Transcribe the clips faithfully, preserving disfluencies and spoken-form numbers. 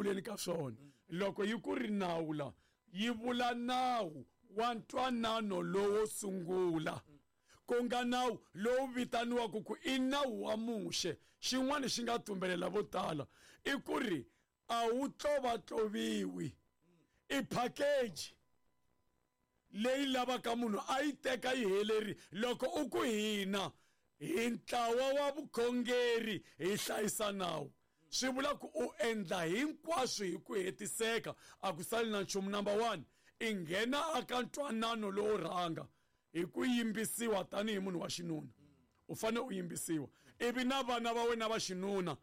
vuleni ka swona. Loko yi ku ri nawu la, yi vula nawu wa ntwanano lowo sungula, ku nga nawu lowu vitaniwaka ku i nawu wa Muxe. Xin'wana xi nga tumbelela vo tala i ku ri a wu tlovatloviwi, i package leyi lavaka munhu a yi teka yi heleri. Loko u ku hina hi ntlawa wa vukhongeri hi hlayisa nawu, swi vula ku u endla hinkwaswo hi ku hetiseka, a ku sali na nchumu. Number one, i nghena aka ntwanano lowo rhanga hi ku yimbisiwa tanihi munhu wa xinuna, u fanele u yimbisiwa, ivi na vana va wena va xinuna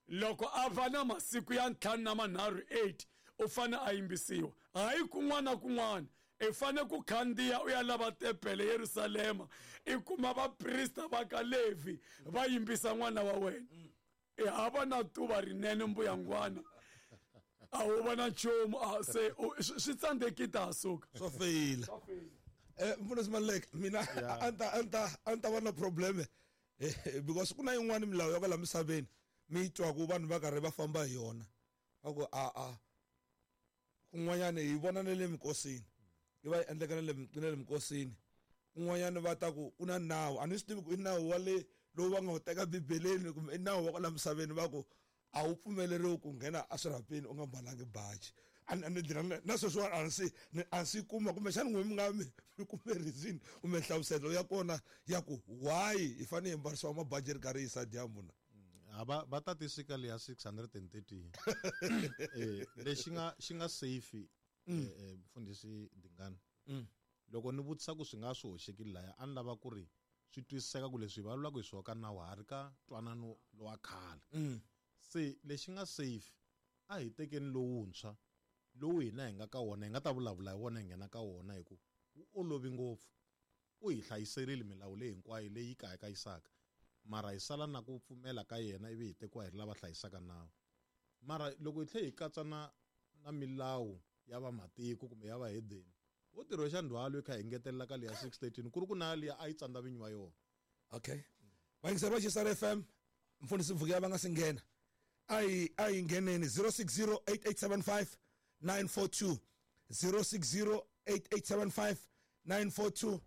loko a va na masiku ya ntlhanu na manharhu eight u fanele a yimbisiwa. Hayi kun'wana na kun'wana, i fanele ku khandziya u ya lava tempele Yerusalema, i kuma vaprista va ka Levi va yimbisa n'wana wa wena. I hava na tuva rinene mbuyangwana, a wu va na nchumu, a se swi tsandzekile ta suka swa feyila. Eh mfundhisi Maluleke, mina a ta a ta a ta va na problem because ku na yin'wana milawu ya kwala misaveni mi yi twaku vanhu va karhi va famba hi yona, va ku a a kun'wanyana hi vona na le minkosini yi va yi endleka na le na le minkosini, kun'wanyana va ta ku ku na nawu, a ni swi tivi ku i nawu wa le lowu va nga wu teka bibeleni kumbe i nawu wa kwala misaveni, va ku a wu pfumeleriwi ku nghena eswirhapeni u nga mbalangi baji. A ni na sweswiwani a ni a swi kuma kumbexana n'we mi nga mi mi kume reason kumbe nhlamuselo ya kona ya ku why hi fanele hi mbarisiwa mabaji ri karhi yisa dyambu na a va va ta tisika leya six hundred and thirty eh lexi nga xi nga safe eh mfundhisi Dingani, loko ni vutisa ku swi nga swi hoxekile laya, a ni lava ku ri swi twisiseka ku leswi hi vulavulaka hi swona ka nawu ha ri ka ntwanano lowa khale. Se lexi nga safe a hi tekeni lowuntshwa lowu hina hi nga ka wona, hi nga ta vulavula hi wona hi nghena ka wona hi ku wu olovi ngopfu, u hi hlayiserile milawu leyi hinkwayo leyi kayakayisaka, mara hi sala na ku pfumela ka yena ivi hi tekiwa hi ri lava hlayisaka nawu. Mara loko hi tlhela hi katsa na na milawu ya vamatiko kumbe ya vahedeni, wo tirhwexa ndzhwalo hi kha hi ngetelela ka leya six thirteen ku ri ku na liya a yi tsandza vinyi wa yona. Okay, vayingiseri va Xisara F M, mfundhisi Mvukela va nga si nghena, a hi a hi ngheneni zero six zero eight eight seven five nine four two, zero six zero eight eight seven five nine four two.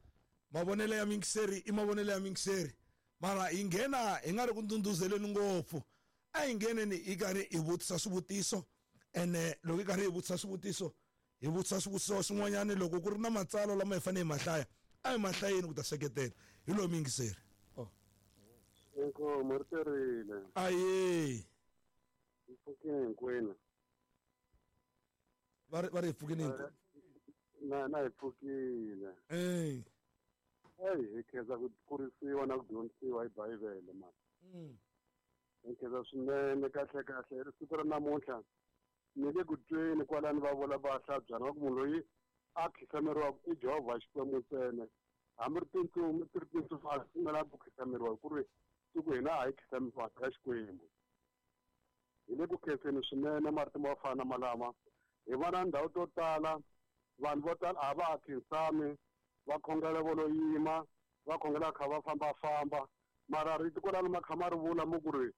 Mavonelo ya mingiseri i mavonelo ya mingiseri, mara hi nghena hi nga ri ku ndhundhuzeleni ngopfu, a hi ngheneni hi karhi hi vutisa swivutiso, ene loko hi karhi hi vutisa swivutiso hi vutisa swivutiso swin'wanyana, loko ku ri na matsalwa lama hi fanele hi ma hlaya a hi ma hlayeni ku ta seketela. Hi lowu mingiseri. Oh, inkomu ri terile. Aye, hi pfukile hinkwenu. Va ri va ri hi pfukile hinkwenu. Na na hi pfukile. Eh. Hey, hi khensa ku kurisiwa na ku dyondzisiwa hi Bibele mani. Mm. Hi khensa swinene kahle kahle siku ra namuntlha ni le ku tweni kwalani va vula va hlabyana va ku munhu loyi a khisameriwaka i Jehovha Xikwembu ntsena, hambi ri tintsumi ti ri tintsumi a pfumela ku khisameriwa hi ku ri siku hina a hi khisameriwa ka Xikwembu. Hi le ku khenseni swinene marito mo fana malama, hi vona ndhawu to tala vanhu vo tala a va ha khinsami, va khongela vo lo yima, va khongela kha va fambafamba, mara rito kwalano ma kha ma ri vula mo ku ri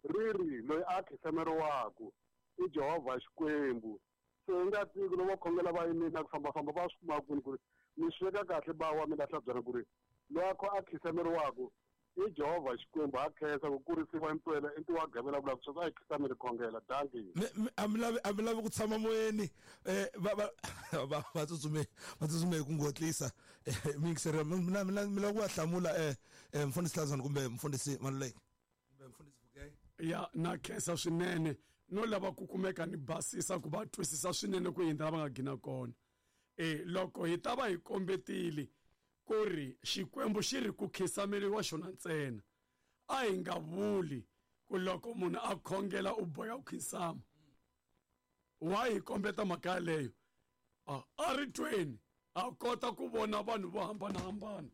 ri ri loyi a khisameriwaka i Jehovha Xikwembu. Se hi nga tivi loko va khongela va yimile na ku fambafamba va swi kuma kwini ku ri mi swi veka kahle ba wa mina hlabyana ku ri loyi a khisameriwaka i Jehovha Xikwembu. Ha khensa ku kurisiwa impela i ntiwa gavela vula ku sweswi a hi khisameli khongela. Dankie. A mi lavi a mi lavi ku tshama moyeni, eh va va va va tsutsume va tsutsume hi ku ngotlisa mingiseri. Mina mina mi lava ku va hlamula eh mfundhisi Hlazana kumbe mfundhisi Maluleke kumbe mfundhisi Vukeye? Ya, na khensa swinene no lava ku kumeka ni basisa ku va twisisa swinene ku hindza lava nga gina kona. Eh loko hi ta va hi kombetile ku ri Xikwembu xi ri ku khisameriwa xona ntsena, a hi nga vuli ku loko munhu a khongela u boya ku khinsama. Wa hi kombeta mhaka yaleyo? A a ri tweni a kota ku vona vanhu vo hambanahambana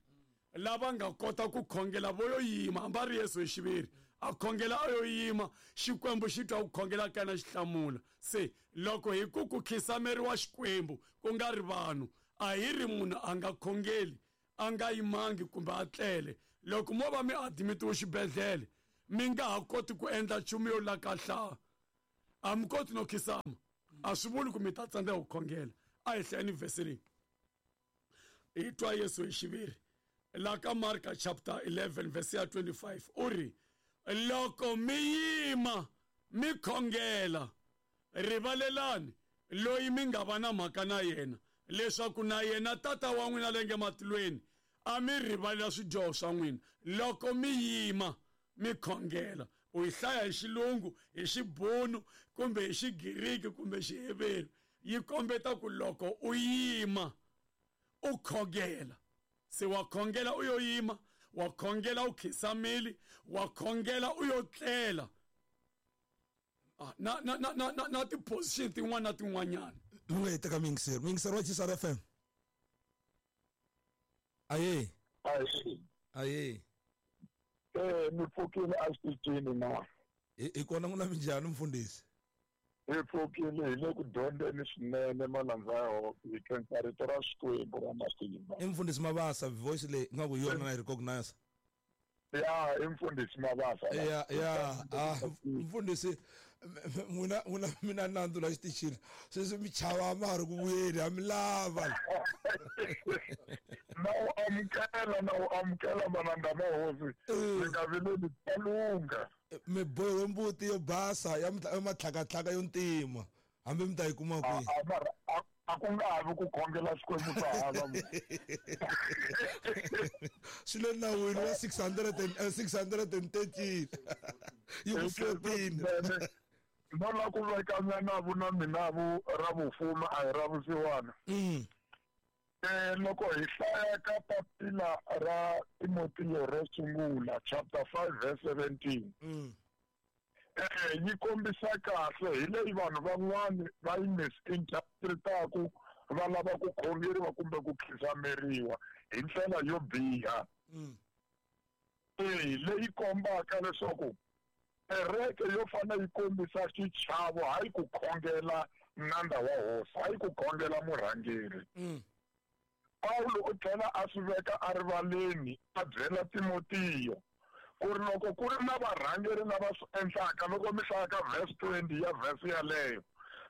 lava nga kota ku khongela vo yo yima, hambi a ri Yesu hi xiviri a khongela a yo yima, Xikwembu xi twa ku khongela ka yena xi hlamula. Se loko hi ku ku khisameriwa Xikwembu ku nga ri vanhu, a hi ri munhu a nga khongeli a nga yimangi kumbe a tlele. Loko mo va mi admitiwe xibedhlele mi nga ha koti ku endla nchumu yo lakahlaa, A mi koti no khisama. A swi vuli ku mi ta tsandzeka ku khongela. A hi hlayeni vhesi leyi. Hi twa Yesu hi xiviri. La ka Marka chapter eleven verse ya twenty-five u ri loko mi yima mi khongela rivalelani loyi mi nga va na mhaka na yena leswaku na yena tata wa n'wina le nge matilweni a mi rivalela swidyoho swa n'wina loko mi yima mi khongela. U yi hlaya hi xilungu, hi xibunu kumbe hi xigiriki kumbe xiheberi, yi kombeta ku loko u yima u khongela. Se wa khongela u yo yima, wa khongela u khisamile, wa khongela u yo tlela. Ah, na na na na na, na ti-position tin'wana na tin'wanyana. Mi nga yi teka muyingiseri. Muyingiseri wa Chisara F M. Aye. Aye. Aye. Eh, mi pfukile exitichini na. Hi kona n'wina minjhani mfundhisi? Hi pfukile hi le ku dyondzeni swinene malandza ya hosi, hi khensa rito ra Xikwembu ra matimba. I mfundhisi Mabasa, voice leyi ingaku hi yona na yi recognize. Ya, i mfundhisi Mabasa. Ya, ya, ah, mfundhisi n'wina n'wina mina nandzu la xitichini. Sweswi mi chava ma ha ri ku vuyeni, ha mi lava. Na u amukela, na u amukela malandza ma hosi. Mi nga vileli ta lungha. Mi bohiwe mbuti yo basa ya matlhakatlhaka yo ntima. Hambi mi ta yi kuma kwihi? A ku nga ha vi ku khongela Xikwembu swa hava. Swi le nawini wa six hundred and six hundred and thirteen. Yi ku fourteen. No la ku veka nyanavu na minavu ra vufumi a hi ra vusiwana. Eh, loko hi hlaya ka papila ra Timotiyo ro sungula chapter five verse seventeen. Eh, yi kombisa kahle hi leyi vanhu van'wani va yi misinterpretaku va lava ku khongeriwa kumbe ku khisameriwa hi ndlela yo biha. Eh, leyi kombaka leswaku kereke yo fana yi kombisa xichavo hayi ku khongela nandza wa hosi, hayi ku khongela murhangeri. Paulo u tlhela a swi veka erivaleni a byela Timotiyo ku ri loko ku ri na varhangeri lava swi endlaka, loko mi hlaya ka verse twenty ya verse yaleyo,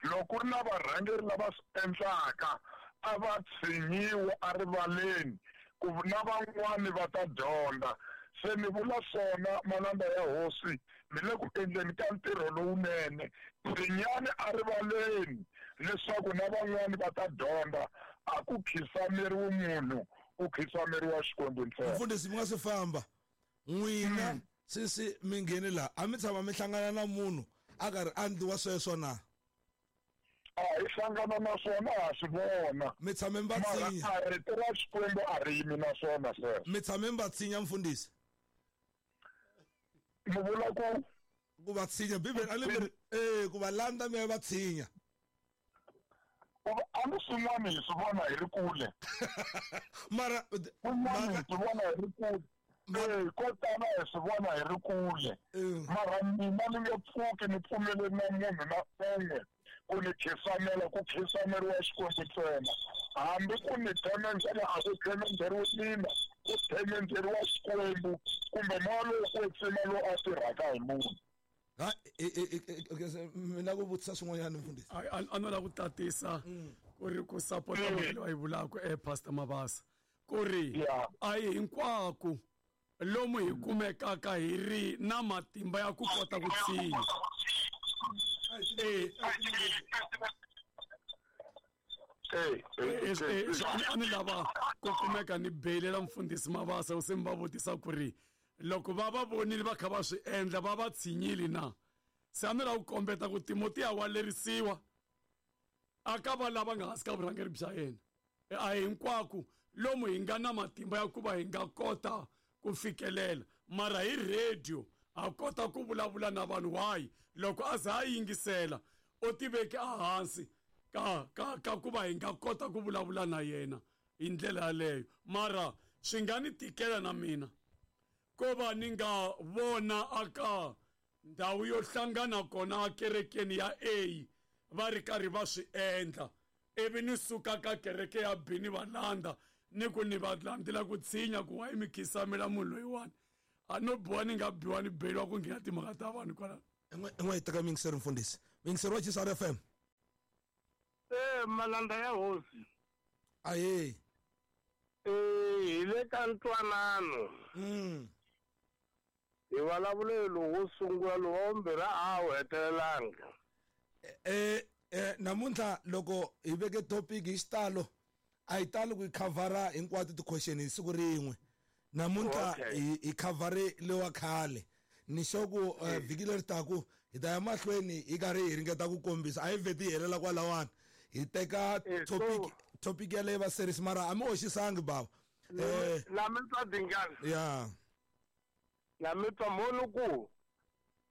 loko ku ri na varhangeri lava swi endlaka a va tshinyiwe erivaleni ku na van'wani va ta dyondza. Se mi vula swona malandza ya hosi, mi le ku endleni ka ntirho lowunene, tshinyani erivaleni leswaku na van'wani va ta dyondza. A ku khisameriwi munhu, ku khisameriwa Xikwembu ntsena. Mfundhisi mi nga swi famba n'wina sisi mi ngheni laha, a mi tshama mi hlangana na munhu a karhi a endliwa sweswo na? A hi hlangana na swona, ha swi vona. Mi tshame mi va tshinya? Mara rito ra Xikwembu a ri yimi na swona sweswo. Mi tshame mi va tshinya mfundhisi? Mi vula ku? Ku va tshinya, Bibele a li eh ku va landza mi ya va tshinya. A ni swin'wana hi swi vona hi ri kule. Mara swin'wana hi swi vona hi ri kule. Eh, ko tala hi swi vona hi ri kule. Mara mina ni nge pfuki ni pfumeleli na munhu na un'we ku ni khisamela, ku khisameriwa Xikwembu ntsena. Hambi ku ni themendhela, a ku themendheriwi mina, ku themendheriwa Xikwembu kumbe moya lowo kwetsima lowu a tirhaka hi munhu. Ha, mina ku vutisa swin'wanyana mfundhisi. A no lava ku tatisa ku ri ku sapota mhaka leyi va yi vulaka eh Pastor Mabasa ku ri a hi hinkwako lomu hi kumekaka hi ri na matimba ya ku kota ku tshinya. Eh, a ni lava ku kumeka ni beyilela mfundhisi Mabasa u se mi va vutisa ku ri loko va va vonile va kha va swi endla va va tshinyile na. Se a ni lava ku kombeta ku Timotiya wa lerisiwa a ka va lava nga hansi ka vurhangeri bya yena. A hinkwako lomu hi nga na matimba ya ku va hi nga kota ku fikelela, mara hi radio a kota ku vulavula na vanhu. Why loko a za a yingisela u tiveke ehansi ka ka ka ku va hi nga kota ku vulavula na yena hi ndlela yaleyo. Mara swi nga ni tikela na mina ko va ni nga vona aka ndhawu yo hlangana kona ekerekeni ya A va ri karhi va swi endla, ivi ni suka ka kereke ya B ni va landza ni ku ni va landzela ku tshinya ku wa mi khisamela munhu loyiwani. A no biwa ni nga biwa ni beliwa ku nghena timhaka ta vanhu kwalano. I n'we yi teka muyingiseri mfundhisi. Yingiseri wa G S R F M. Eh malanda ya hosi. Aye. Eh hi le ka ntwanano. Mm. Hi vulavule lowu sungula lowu vumbirhi a wu hetelelanga. Eh eh namuntlha loko hi veke topic hi xitalo a hi tali ku yi khavhara hinkwato ti-question hi siku rin'we. Namuntlha hi khavhare lewa khale. Ni sure ku vhiki leri taku hi ta ya mahlweni hi karhi hi ringeta ku kombisa a hi vheti hi helela kwalawani hi teka topic topic yaleyo va series mara a mi hoxisangi bava. Eh la mi twa Dingani. Yeah. La mi twa mhoni ku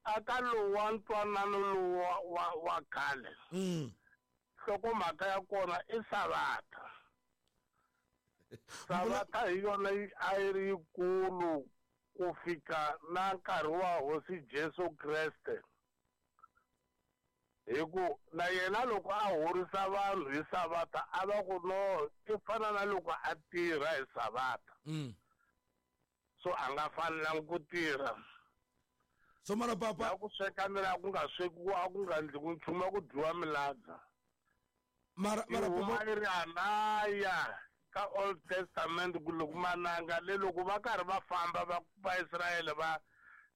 aka lowa ntwanano lowu wa wa khale. Mm. Nhlokomhaka ya kona i Savata. Savata hi yona a yi ri yikulu ku fika na nkarhi wa hosi Jesu Kreste. Hi ku na yena loko a horisa vanhu hi Savata a va ku no i fana na loko a tirha hi Savata. Mm. So a nga fanelangi ku tirha. So mara papa a ku sweka mila ku nga swekiwa a ku nga endliwi nchumu a ku dyiwa miladza. Mara mara papa yi ri anaya ka Old Testament ku loko mananga le loko va karhi va famba va Vaisraele va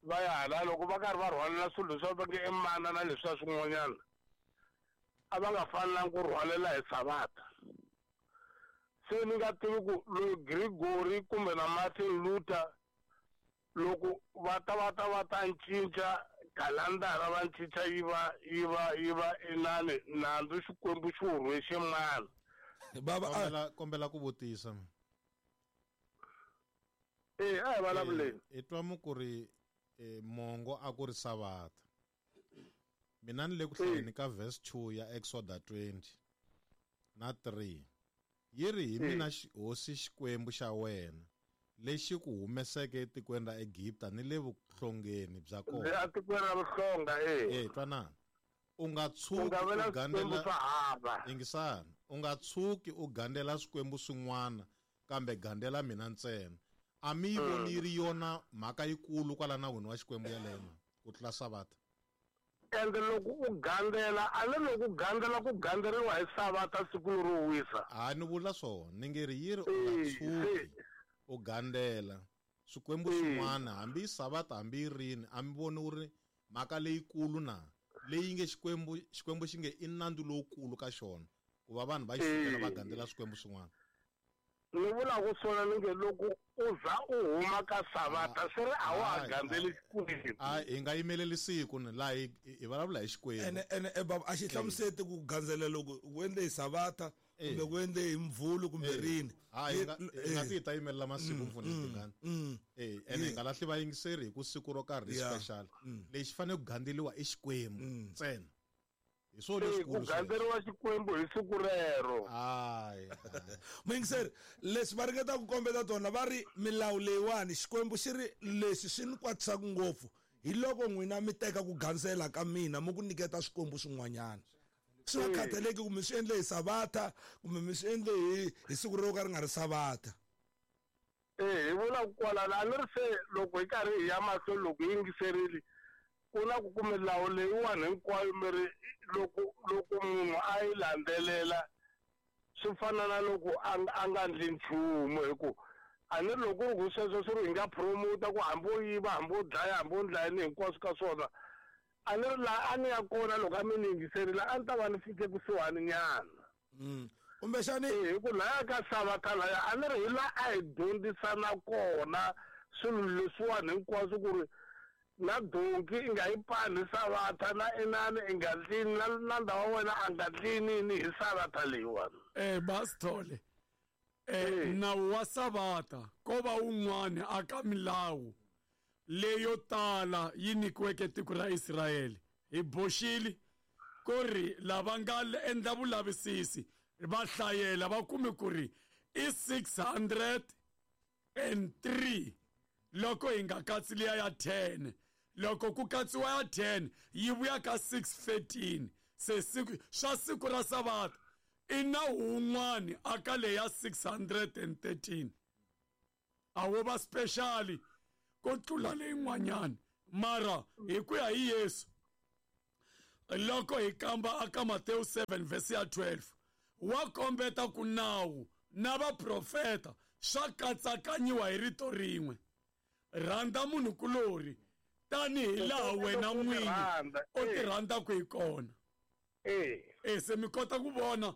va ya hala loko va karhi va rhwalela swilo leswi va nge i mana na leswiya swin'wanyana a va nga fanelangi ku rhwalela hi Savata. Se ni nga tivi ku loyi Gregory kumbe na Martin Luther loko va ta va ta va ta cinca khalandara va cinca yi va yi va yi va inani nandzu Xikwembu xi wu rhwexe mani. Baba kombela kombela ku vutisa. Eh a hi vulavuleni. Hi twa mu ku ri mongo a ku ri Savata. Mina ni le ku hlayeni ka verse two ya Exodus twenty na three. Yi ri hi mina hosi Xikwembu xa wena lexi ku humeseke etikweni ra Egipta ni le vuhlongeni bya kona. Etikweni ra vuhlonga eh. Eh twanana. U nga tshuki u gandzela ingisana. U nga tshuki u gandzela swikwembu swin'wana kambe gandzela mina ntsena. A mi yi voni yi ri yona mhaka yikulu kwala nawini wa Xikwembu yaleyo ku tlula Savata. Ende loko u gandzela a ni loko u gandzela ku gandzeriwa hi Savata siku lero wisa. A ni vula swona ni nge ri yi ri u nga tshuki u gandzela swikwembu swin'wana hambi Savata hambi rini a mi voni wu ri mhaka leyikulu na leyi nge Xikwembu Xikwembu xi nge i nandzu lowukulu ka xona ku va vanhu va xi sukela va gandzela swikwembu swin'wana. Ni vula ku swona ni nge loko u za u huma ka Savata swi ri a wa ha gandzeli Xikwembu. A hi nga yimeleli siku ni laha hi vulavula hi Xikwembu. Ene ene baba a xi hlamuseti ku gandzela loko ku endle hi Savata kumbe ku endle hi Mvhulu kumbe rini. A hi nga hi nga ti ta yimelela masiku mfundhisi Dingani. Eh ene hi nga lahli vayingiseri hi ku siku ro karhi special. Lexi fanele ku gandzeliwa i Xikwembu ntsena. Hi swona leswikulu ku gandzeriwa Xikwembu hi siku rero. Hayi. Muyingiseri leswi va ringeta ku kombeta tona va ri milawu leyiwani Xikwembu xi ri leswi swi ni kwatisaka ngopfu hi loko n'wina mi teka ku gandzela ka mina mi ku nyiketa swikwembu swin'wanyana. Swi nga khathaleki kumbe swi endle hi Savata kumbe mi swi endle hi hi siku ro ka ri nga ri Savata. Eh hi vula kwalano a ni ri se loko hi karhi hi ya mahlweni loko hi yingiserile ku na ku ku milawu leyiwani hinkwayo mi ri loko loko munhu a yi landzelela swi fana na loko a nga endli nchumu hi ku a ni ri loko ku ri ku sweswo swi ri hi nga promota ku hambi wo yiva hambi wo dlaya hambi wo ndla yini hinkwaswo ka swona a ni ri laha a ni ya kona loko a mi ni yingiserile a ni ta va ni fike kusuhani nyana. Kumbexani hi ku laya ka Savata laya a ni ri hi laha a hi dyondzisana kona swilo leswiwani hinkwaswo ku ri na donki i nga yi pani hi Savata na inani i nga tlini na nandza wa wena a nga tlinini hi Savata leyiwani. Eh Basithole eh nawu wa Savata ko va wun'wani aka milawu leyo tala yi nyikiweke tiko ra Israyele hi boxile ku ri lava nga endla vulavisisi va hlayela va kume ku ri i six hundred and three loko hi nga katsi liya ya ten loko ku katsiwa ya ten yi vuya ka six thirteen se siku swa siku ra Savata i nawu wun'wani aka leya six hundred and thirteen a wo va special ko tlula leyin'wanyana mara hi ku ya hi Yesu loko hi kamba aka Matewu seven verse ya twelve wa kombeta ku nawu na vaprofeta swa katsakanyiwa hi rito rin'we rhandza munhu kulori tanihi laha wena n'wini u ti rhandzaka hi kona eh eh se mi kota ku vona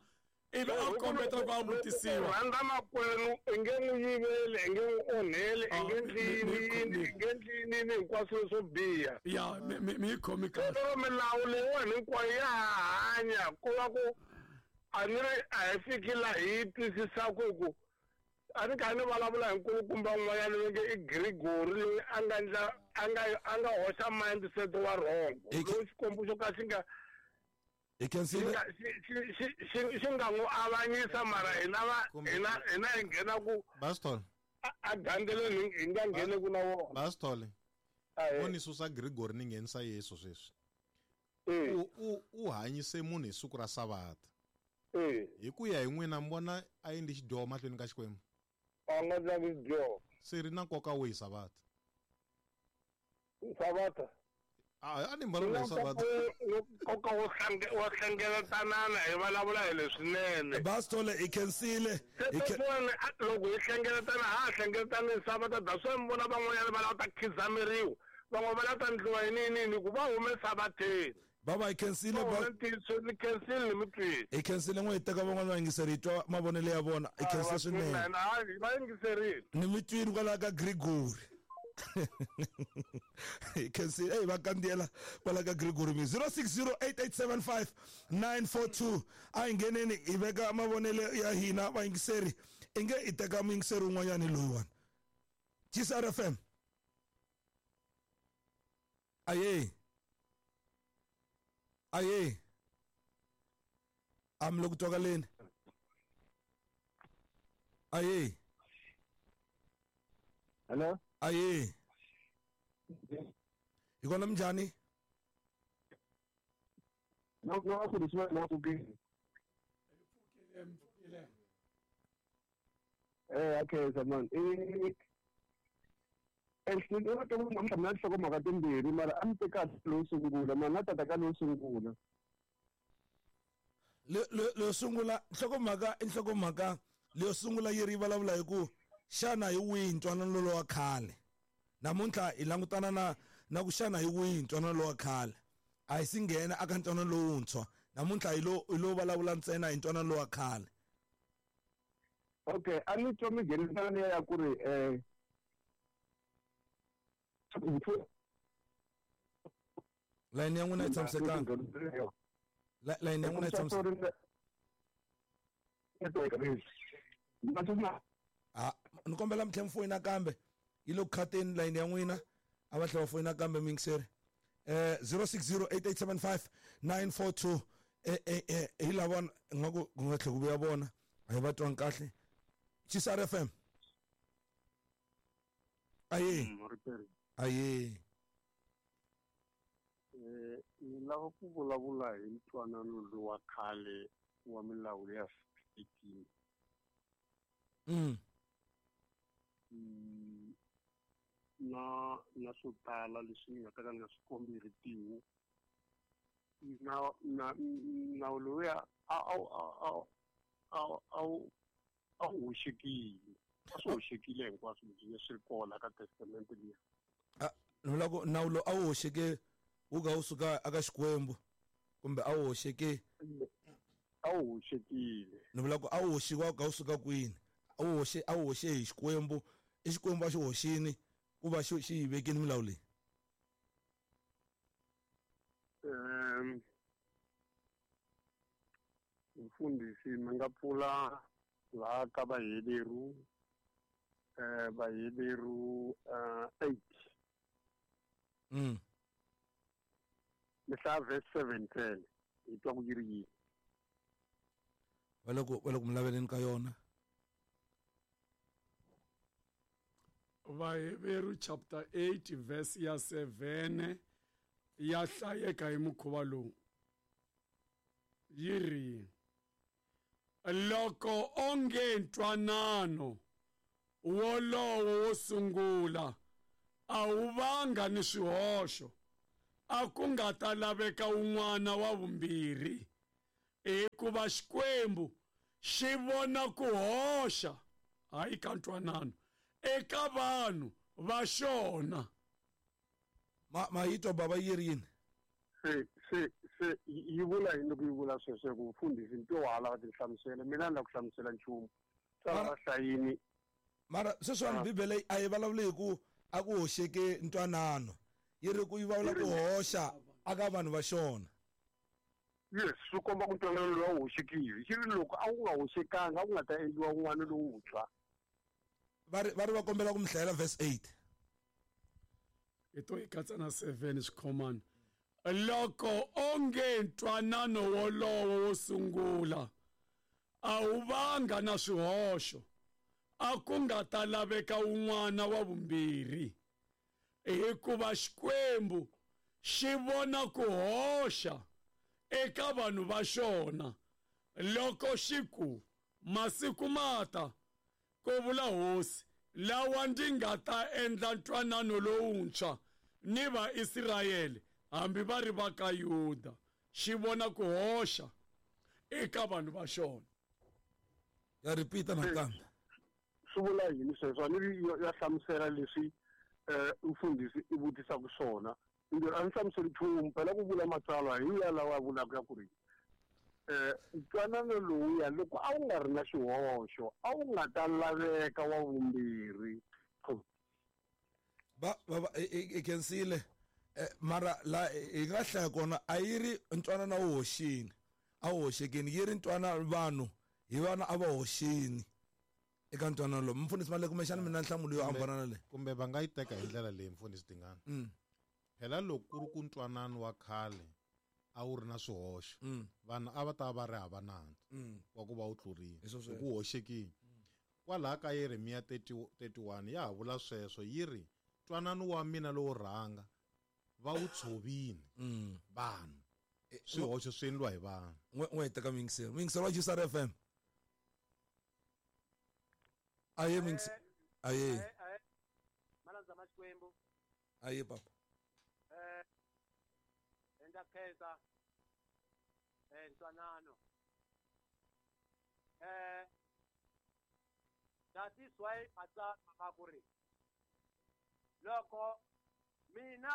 ivi a kombeta ku a vutisiwa rhandza makwenu i nge n'wi yiveli i nge n'wi onheli i nge ndlini i nge ndlini hinkwaswo swo biha ya mi mi yi khomi kahle lero milawu leyiwani hinkwayo ya ha hanya ku va ku a ni ri a hi fiki laha hi twisisaka hi ku a ni kha ni vulavula hi nkulukumba un'wanyana loyi nge i Gregory loyi a nga ndla a nga a nga hoxa mindset wa wrong lowu xikwembu xo ka xi nga hi khensile xi nga n'wi avanyisa mara hina va hina hina hi nghena ku Bastol a gandzeleni hi nga ngheni ku na wona Bastol o ni susa Gregory ni nghenisa Yesu sweswi u u u hanyise munhu hi siku ra Savata hi ku ya hi n'wina mi vona a endli xidyoho mahlweni ka Xikwembu a nga ndlangi xidyoho se ri na nkoka wihi Savata Savata a ni vulavula hi Savata nkoka wo wo hlengeletanana hi vulavula hi leswinene Bastole hi khensile loko hi hlengeletana ha hlengeletana hi Savata that's why mi vona van'wanyana va lava ta khizameriwa van'wana va lava ta ndliwa hi nini nini ku va hume Savateni baba hi khensile ni khensile mi twile hi khensile n'we hi teka van'wana va yingiseri hi twa mavonelo ya vona hi khensile swinene va yingiserile ni mi twini kwalaho ka Gregory hi khensile eyi va kandziyela kwala ka Gregory mi zero six zero eight eight seven five nine four two a hi ngheneni hi veka mavonelo ya hina vayingiseri i nge hi teka muyingiseri un'wanyani loyiwani G C R F M aye aye am le ku twakaleni aye hello aye hi kona minjhani no no ku leswi na ku ke eh okay zaman eh eh no to mo mna nhlokomhaka timbirhi mara a mi teka lowu sungula mara na tata ka lowu sungula le le sungula nhlokomhaka i nhlokomhaka leyo sungula yi ri vulavula hi ku xana hi wihi ntwanano lowa khale namuntlha hi langutana na na ku xana hi wihi ntwanano lowa khale a hi si nghena aka ntwanano lowuntshwa namuntlha hi lo hi lo vulavula ntsena hi ntwanano lowa khale okay a ni twa mi nghenisana liya ya ku ri um layini ya n'wina yi tshamisekanga layini ya n'wina yi tshamisekanga a ni kombela mi tlhela mi foyina kambe yi le ku khateni layini ya n'wina a va tlhela va foyina kambe muyingiseri eh zero six zero eight eight seven five nine four two eh eh hi lava nga ku ku nga tlhela ku vuya vona a hi va twangi kahle G C R F M aye aye eh ni lava ku vulavula hi ntwanano lowa khale wa milawu ya sixteen mm na na swo tala leswi ni nga ta ka ni nga swi kombi hi ritiho na na nawu lowuya a a a a a a wu hoxekile a swi hoxekile hinkwaswo leswi swi ri kona ka testamente liya a ni vula ku nawu lowu a wu hoxeke wu ka wu suka aka Xikwembu kumbe a wu hoxeke a wu hoxekile ni vula ku a wu hoxiwa wu ka wu suka kwini a wu hoxe a wu hoxe hi Xikwembu i Xikwembu a xi hoxini ku va xi xi yi vekile milawu leyi um mfundhisi mi nga pfula laha ka Vaheveru eh Vaheveru eight mm mi hlaya verse seven ten hi twa ku yi ri yini va le ku va le ku mi laveleni ka yona Vaheveru chapter eight verse ya seven ya hlayeka hi mukhuva lowu yi ri loko onge ntwanano wolowo wo sungula a wu vanga ni swihoxo a ku nga ta laveka un'wana wa vumbirhi, hikuva Xikwembu xi vona ku hoxa hayi ka ntwanano eka vanhu va xona. Ma ma yi twa baba yi ri yini? Se se se yi vula yini loko yi vula sweswo ku mfundhisi nto wa ha lava tinhlamuselo, mina ni lava ku hlamusela nchumu swa va hlayini. Mara sweswiwani Bibele a yi vulavuli hi ku a ku hoxeke ntwanano, yi ri ku yi vulavula ku hoxa aka vanhu va xona. Yes, swi komba ku ntwanano lowu a wu hoxekile. Xi ri loko a wu nga hoxekanga a ku nga ta endliwa wun'wana lowuntshwa. Va ri va ri va kombela ku mi hlayela verse eight. Hi to hi katsa na seven swikhomana. Loko onge ntwanano wolowo wo sungula a wu vanga na swihoxo, a ku nga ta laveka un'wana wa vumbirhi, hikuva Xikwembu xi vona ku hoxa eka vanhu va xona loko xi ku masiku mata, ku vula Hosi, lawa ndzi nga ta endla ntwanano lowuntshwa ni Vaisrayele hambi va ri va ka Yuda. Xi vona ku hoxa eka vanhu va xona. Ya repeat nakambe. Swi vula yini sweswo? A ni ri ya hlamusela leswi mfundhisi i vutisaka swona. A ni hlamuseli nchumu, phela ku vula matsalwa hi ya lawa ya vulaka ya ku ri ntwanano lowuya loko a wu nga ri na xihoxo a wu nga ta laveka wa vumbirhi. Ba ba i khensile mara la hi nga hlaya kona a yi ri ntwanano a wu hoxini, a wu hoxekini, yi ri ntwanano vanhu hi vana a va hoxini eka ntwanano lowu. Mfundhisi Maleko, kumbexana mina nhlamulo yo hambana na leyi. Kumbe va nga yi teka hi ndlela leyi, mfundhisi Dingana. Phela loko ku ri ku ntwanano wa khale a wu ri na swihoxo, vanhu a va ta va ri hava nandzu wa ku va wu tlurile, hi ku hoxekile. Kwalaha ka Yeremiya thirty-one ya ha vula sweswo, yi ri ntwanano wa mina lowo rhanga va wu tshovini vanhu, swihoxo swi endliwa hi vanhu. N'we hi teka muyingiseri, muyingiseri wa G S R F M. Aye muyingiseri, aye malandza ma Xikwembu. Aye papa. Eh endla khensa eh ntwanano eh that is why matsalwa ma ku ri loko mina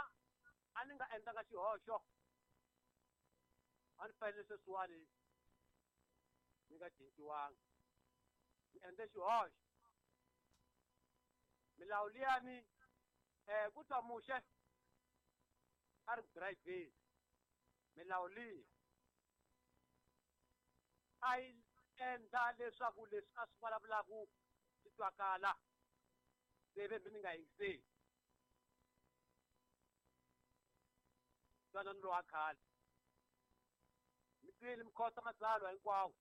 a ni nga endlanga xihoxo a ni fanele sweswiwani ni nga cinciwanga, ni endle xihoxo. Milawu liyani eh ku twa Muxe a ri driveni, milawu liya a yi endla leswaku leswi a swi vulavulaku swi twakala, se ve mi ni nga yingiseli. Ntwanano lowa khale mi twile mi khotsa matsalwa hinkwawo.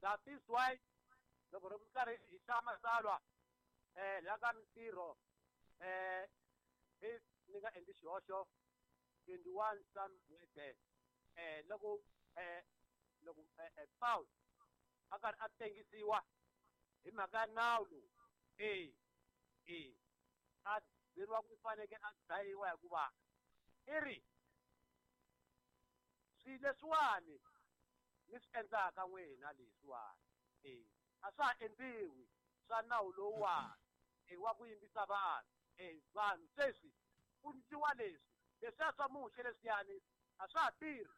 That is why loko ri karhi hi hlaya matsalwa eh la ka Mintirho eh if ni nga endli xihoxo twenty-one somewhere there eh loko eh loko Paul a karhi a tengisiwa hi mhaka ya nawu lowu, e e a byeriwa ku fanekele a dlayiwa hikuva i ri swilo leswiwani ni swi endlaka n'wina leswiwani e a swa ha endliwi swa nawu lowuwani e wa ku yimbisa vanhu e vanhu sweswi ku endliwa leswi leswiya swa Muxe leswiyani a swa ha tirhi.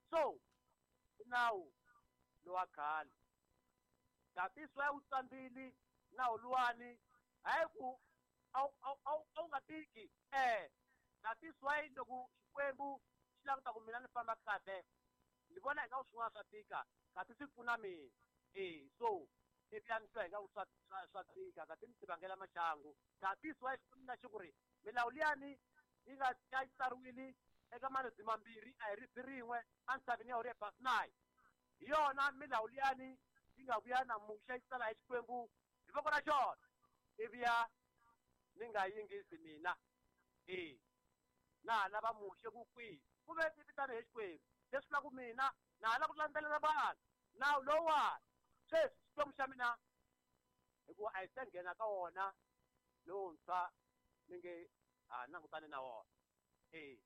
So i nawu lowa khale, that is why wu tsambile nawu luwani hayi ku a wu nga tiki eh that is why loko Xikwembu xi languta ku mina ni famba kahle ni vona ingaku swin'wana swa tika kasi swi pfuna mina e so ivi ya ni twa ingaku swa swa tika kasi ni tivangela maxangu. That is why Xikwembu na xi ku ri milawu liyani yi nga yi tsariwile eka maribye mambirhi a hi ribye rin'we entshaveni ya Horebe Sinai, hi yona milawu liyani yi nga vuya na Muxe yi tsala hi Xikwembu hi voko ra xona, ivi ya ni nga yingisi mina e na ha lava Muxe ku kwihi ku ve ni vitana hi Xikwembu leswi vulaka mina na ha lava ku landzelela vanhu nawu lowuwani sweswi Xikwembu xa mina hikuva a hi se nghena ka wona lowuntshwa ni nge ha langutani na wona. Eh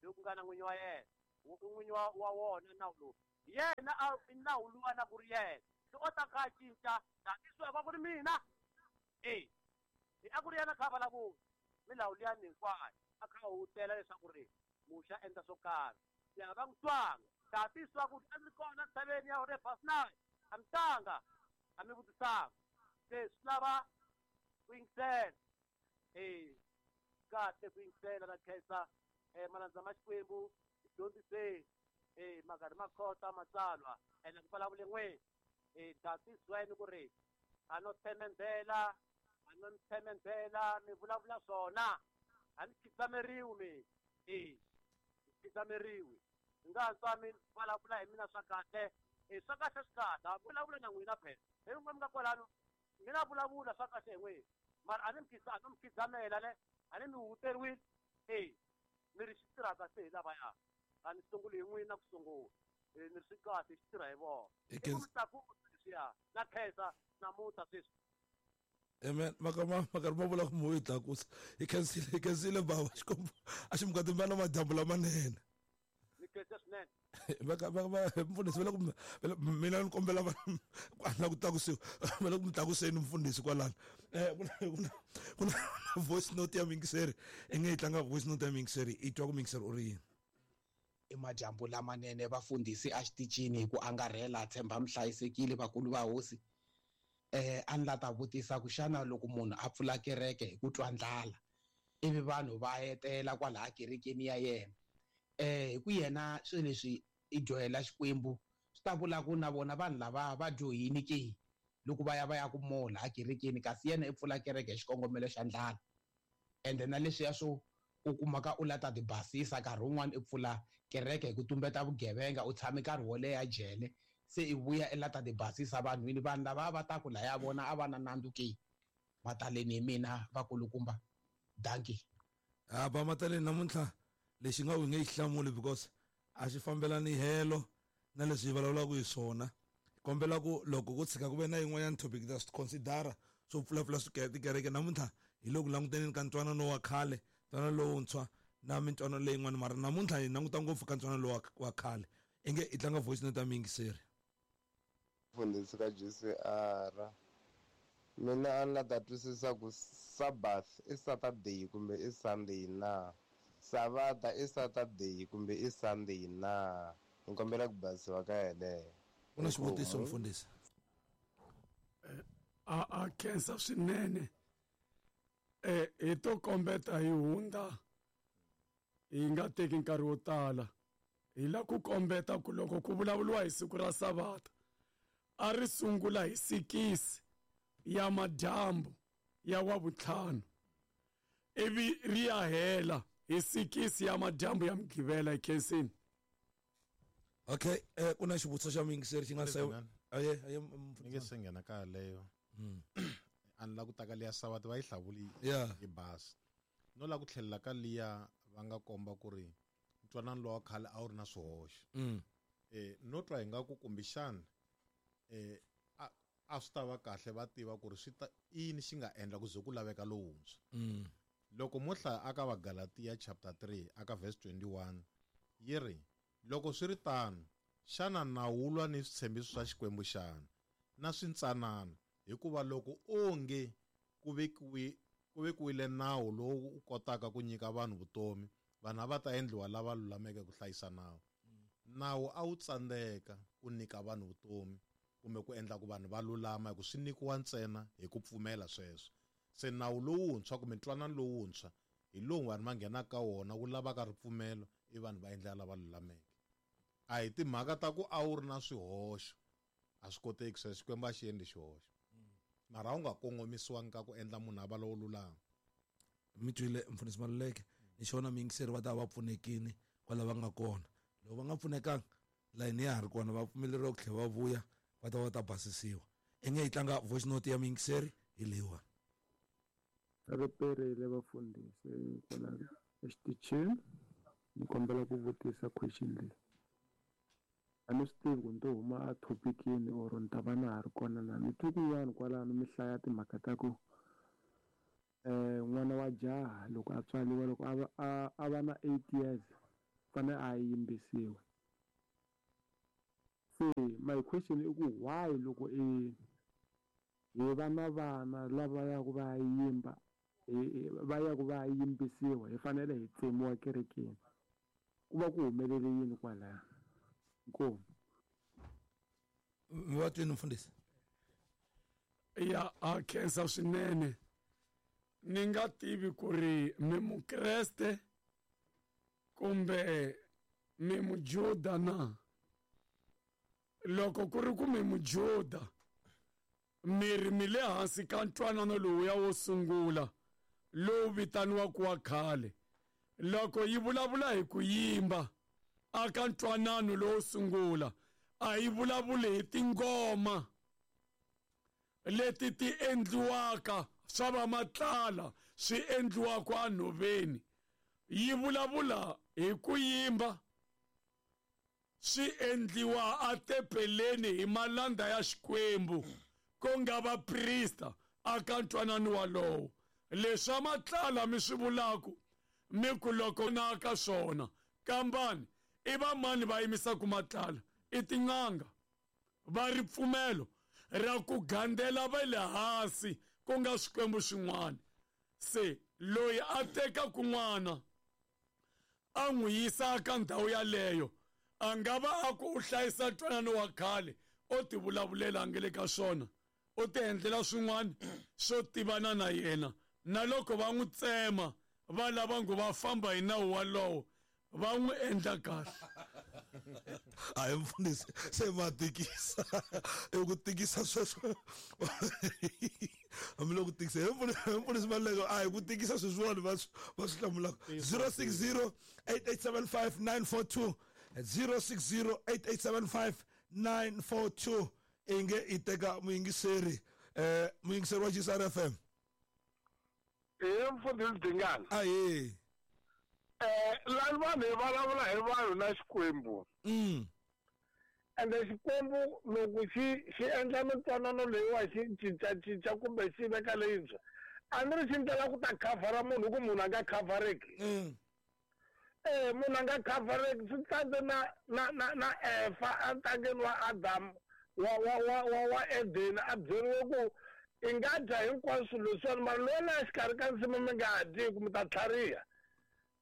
loku nga na n'winyi wa yena n'winyi wa wa wona nawu lowu yena a nawu luwa na ku ri yena se o ta kha a cinca tatiso ku ri mina eh a ku ri yena kha vulavula milawu liya hinkwayo a kha hutela leswaku ri Muxe a endla swo karhi ya va n'wi twanga tatiswa ku a ndzi kona ntshaveni ya Horeb Sinai a mi tanga a mi vutisanga se swi lava ku yingisela eh kahle ku yingisela na khensa eh malandza ma Xikwembu dyondziseni eh makarhi ma khota matsalwa ene ku vulavule n'we eh tatisweni ku ri a no themendela a no themendela mi vulavula swona a ni khidzameriwi mi eh khidzameriwi nga tswa mi vulavula hi mina swa kahle eh swa kahle swi kahle a vulavula na n'wina phela hi n'we mi nga kwalano mina vulavula swa kahle hi n'wina mara a ni mi khidza a no mi khidzamela ne a ni mi huteriwile eh mi ri xi tirha kahle hi lavaya a ni sunguli hi n'wina ku sungula eh ni ri swi kahle xi tirha hi vona i ku mi tlakusa leswiya na khensa namuntlha sweswi. Amen. Makama makarhi ma vula ku mo yi tlakusa hi khensile hi khensile bava Xikwembu a xi mi katimba na madyambu lamanene ni khensa swinene va va va mfundhisi va le ku mina ni kombela va na ku tlakusiwa va le ku mi tlakuseni mfundhisi kwalano eh ku na ku na ku na voice note ya mingiseri i nge yi tlanga voice note ya mingiseri i twa ku mingiseri u ri yini. I madyambu lamanene vafundhisi a xitichini hi ku angarhela tshemba mi hlayisekile vakulu va hosi. Eh a ni la ta vutisa ku xana loko munhu a pfula kereke hi ku twa ndlala ivi vanhu va etela kwalaha kerekeni ya yena eh hi ku yena swilo leswi i dyohela Xikwembu swi ta vula ku na vona vanhu lava va dyohini ke loko va ya va ya ku mola ekerekeni kasi yena i pfula kereke hi xikongomelo xa ndlala ende na leswiya swo u kumaka u la ta ti basisa nkarhi wun'wani i pfula kereke hi ku tumbeta vugevenga u tshame nkarhi wo leha jele se i vuya i la ta ti basisa vanhwini vanhu lava va ta ku laya vona a va na nandzu ke mataleni hi mina vakulukumba dankie. Ha ba mataleni namuntlha lexi nga u nge yi hlamuli because a xi fambelani helo na leswi hi vulavulaka hi swona kombela ku loko ku tshika ku ve na yin'wanyana topic ta swi considera swo pfulapfula tikereke namuntlha hi le ku langutaneni ka ntwanano wa khale ntwanano lowuntshwa na mintwanano leyin'wana mara namuntlha hi languta ngopfu ka ntwanano lowa wa khale i nge i tlanga voice note ya muyingiseri. Mfundhisi ka G C R mina a ni la ta twisisa ku Sabbath i Saturday kumbe i Sunday na Savata i Saturday kumbe i Sunday na ni kombela ku basiwa ka yeleyo. Ku na xivutiso mfundhisi. A a khensa swinene eh hi to kombeta hi hundza hi nga teki nkarhi wo tala hi la ku kombeta ku loko ku vulavuriwa hi siku ra Savata a ri sungula hi sikisi ya madyambu ya wavutlhanu ivi ri ya hela hi sikisi ya madyambu ya Mugqivela hi khensini. Okay eh ku na xivutiso xa muyingiseri xi nga se aye aye ni nge se nghena ka yaleyo a ni la ku taka liya Savata va yi hlavuli hi basi no la ku tlhelela ka liya va nga komba ku ri ntwanano lowa khale a wu ri na swihoxo eh no twa hi nga ku kumbexana eh a a swi ta va kahle va tiva ku ri swi ta i yini xi nga endla ku ze ku laveka lowuntshwa. Loko mo hlaya aka Vagalatia chapter three aka verse twenty-one yi ri loko swi ri tano xana nawu wu lwa ni switshembiso swa Xikwembu xana na swintsanana hikuva loko onge ku vekiwi ku vekiwile nawu lowu u kotaka ku nyika vanhu vutomi vanhu a va ta endliwa lava lulameke ku hlayisa nawu. Nawu a wu tsandzeka ku nyika vanhu vutomi kumbe ku endla ku vanhu va lulama hi ku swi nyikiwa ntsena hi ku pfumela sweswo. Se nawu lowuntshwa kumbe ntwanano lowuntshwa hi lowu vanhu va nghenaka ka wona wu lavaka ripfumelo i vanhu va endlela lava lulameke. A hi timhaka ta ku a wu ri na swihoxo a swi koteki sweswo Xikwembu a xi endli xihoxo mara a wu nga kongomisiwangi ka ku endla munhu a va lowo lulama. Mi twile mfundhisi Maluleke ni xona muyingiseri va ta va pfunekini kwala va nga kona loko va nga pfunekanga layini ya ha ri kona va pfumeleriwa ku tlhela va vuya va ta va ta basisiwa i nge yi tlanga voice note ya muyingiseri hi leyiwani. Riperile vafundhisi kwala exitichini ni kombela ku vutisa question leyi a ni swi tivi ku ni to huma a topicini or ni ta va na ha ri kona na ni twi kun'wana kwalano mi hlaya timhaka ta ku eh n'wana wa jaha loko a tswariwa loko a a a va na eight years fanele a yimbisiwa. Se my question i ku why loko i hi va na vana lava yaku va yimba va yaku va yimbisiwa hi fanele hi tsemiwa kerekeni, ku va ku humelele yini kwalaya? Inkomu. Mi va twini mfundhisi? Ya a khensa swinene. Ni nga tivi ku ri mi mukreste kumbe mi mujuda na. Loko ku ri ku mi mujuda, mi ri mi le hansi ka ntwanano lowuya wo sungula lowu vitaniwaka wa khale. Loko yi vulavula hi ku yimba aka ntwanano lowo sungula, a yi vulavuli hi tingoma leti ti endliwaka swa va matlala swi endliwaka enhoveni. Yi vulavula hi ku yimba swi endliwa atempeleni hi malanda ya Xikwembu ku nga vaprista aka ntwanano walowo. Leswa matlala mi swi vulaku mi ku loko na ka swona kambani i va mani va yimisaka matlala? I tin'anga va ripfumelo ra ku gandela va le hansi ku nga swikwembu swin'wana. Se loyi a tekaku n'wana a n'wi yisa ka ndhawu yaleyo a nga va a ku u hlayisa ntwanano wa khale, o ti vulavulela a nge le ka swona, u ti endlela swin'wana swo tivana na yena. Na loko va n'wi tsema va lava ngo va famba hi nawu walowo, va n'wi endla kahle. A hi mfundhisi, se ma tikisa i ku tikisa sweswo hambiloko tikisa hi mfundhisi Maluleke, a hi ku tikisa sweswiwani va va swi hlamulaka. Zero six zero eight eight seven five nine four two, zero six zero eight eight seven five nine four two. Inge i teka muyingiseri, eh muyingiseri wa G S R F M. Eh mfundhisi Dingana. Ahe. Eh lani vanhu hi vulavula hi vanhu na Xikwembu. Mm. Ende Xikwembu loko xi xi endla mintwanano leyiwa xi cincacinca kumbe xi veka leyintshwa, a ni ri xi ndlela ku ta khavhara munhu ku munhu a nga khavhareki. Mm. Eh munhu a nga khavhareki swi tsandze na na na na Eva entangeni wa Adamu wa wa wa wa wa Eden, a byeriwe ku i nga dya hinkwaswo leswiwani mara loyi la exikarhi ka nsimu mi nga dyi ku mi ta tlhariha.